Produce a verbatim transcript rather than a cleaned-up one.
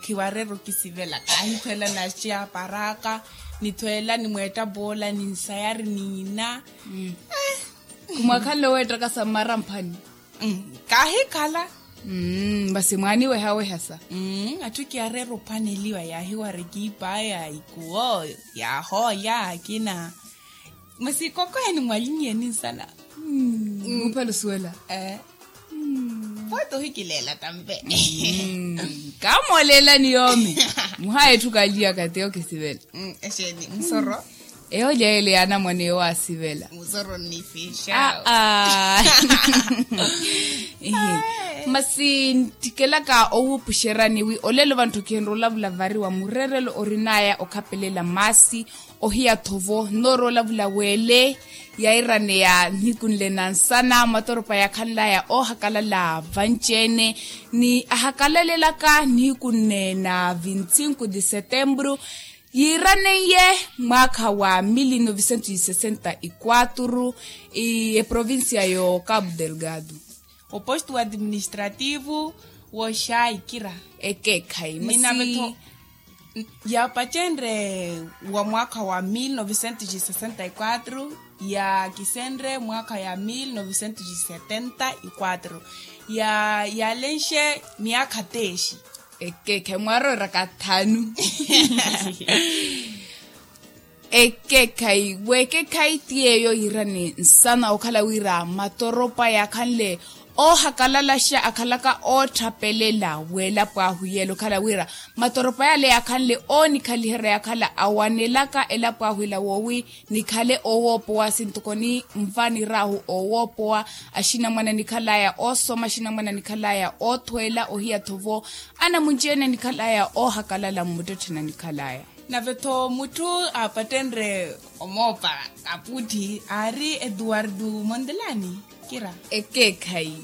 Khiwareera okisivela kaahithweela naxi aparaka, nithweela nimweetta poola ninsayari niina. Khumwakhanle oweettaka sa mmara mphani. Kaahikhala. Masi mwaaniweha wehasa. Atthu kiyareera ophaneliwa yaahiwara ekiipaya ikuwo, yaahoolya akina. Masi kokoheni mwalinyiye ninsana. Muphela osuwela. Pooti ohikileela tampe. Kaamooleelani yoomi. Muhaya etthu kaaliyaka ti okisivela. Exeeni musoro. Eyo lyaele yaanamwane yowaasivela. Musoro nnifixa. Aa. Masi nttikelaka owuupuxerani wi olelo vantthukiheni olavula vari wa mureerelo orinaya okhapelela maasi, ohiya-tho vo nnoorola vula weele yairaneya nihiku nle na nsana matoropa yaakhanlaya oohakalala vanci-ene ni ahakalalelaka nihiku nne na vintsinku di setembru yiiraneiye mwaakha wa mili novisentu yi sesenta yi kwatru. Eprovincia yo cabo delgado. Opostu administrativu wooxaikira. Ekeekhayi masi. Yaapacenre wa mwaakha wa mil novecentos e sessenta e quatro yaakisenre mwaakha ya mil novecentos e setenta e quatro. Yaalenxe miyaakha teexi. Ekeekhayi mwarooraka thanu. Ekeekhayi weekeekhayi ti yeeyo yiirani nsana okhala wira matoropa yaakhanle oohakalalaxa akhalaka ootthapelela w'elapo ahu yeela okhala wira matoropa yale yaakhanle oonikhaliherya yaakhala awanelaka elapo ahu ela woowi nikhale oowoopowa sintoko ni nva niraahu oowoopowa. Axinamwane anikhalaya oosoma axinamwane anikhalaya oothweela ohiya-tho vo anamunci-ene anikhalaya oohakalala mmuttettheni anikhalaya. Nave-tho mutthu aapattenre omoopa kapuuthi aari eduwardu mondelani kira. Ekeekhayi.